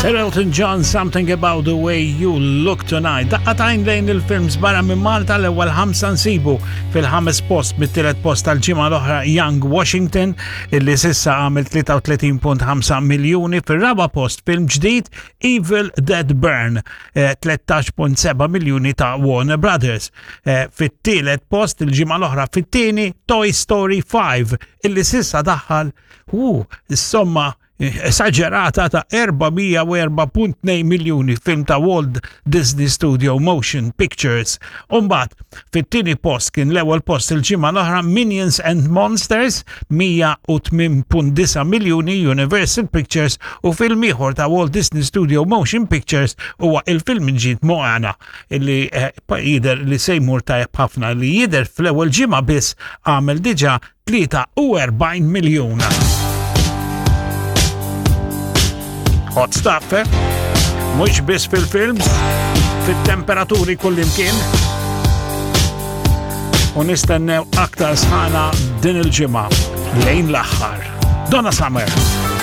Sir Elton John, Something About the Way You Look Tonight. Daqqatajn lejn il-films barra minn Malta l-ewwel ħamsa nsibu fil-ħames post mit-tielet post tal-ġimgħa l-oħra Young Washington illi sissa għamel 33.5 miljuni fir-raba post film ġdid Evil Dead Burn 13.7 eh, miljuni ta' Warner Brothers. Eh, fit-tielet post il-ġimgħa l-oħra fit-tieni Toy Story 5 illi sissa daħħal u somma esaġerata ta' 404.2 miljuni film ta' Walt Disney Studio Motion Pictures. Umbat, fit-tieni post kien l-ewwel post il-ġimgħa l-oħra Minions and Monsters 108.9 miljuni Universal Pictures u film ieħor ta' Walt Disney Studio Motion Pictures huwa il-film ġid Moana illi eh, jidher li se jmur tajjeb ħafna li jidher fl-ewwel ġimgħa biss għamel diġà 43 miljun. Hot stuff, eh? Mhux biss fil-films, fit-temperaturi kullimkien. U nistennew aktar sħana din il-ġimgħa lejn l-aħħar. Donna Summer.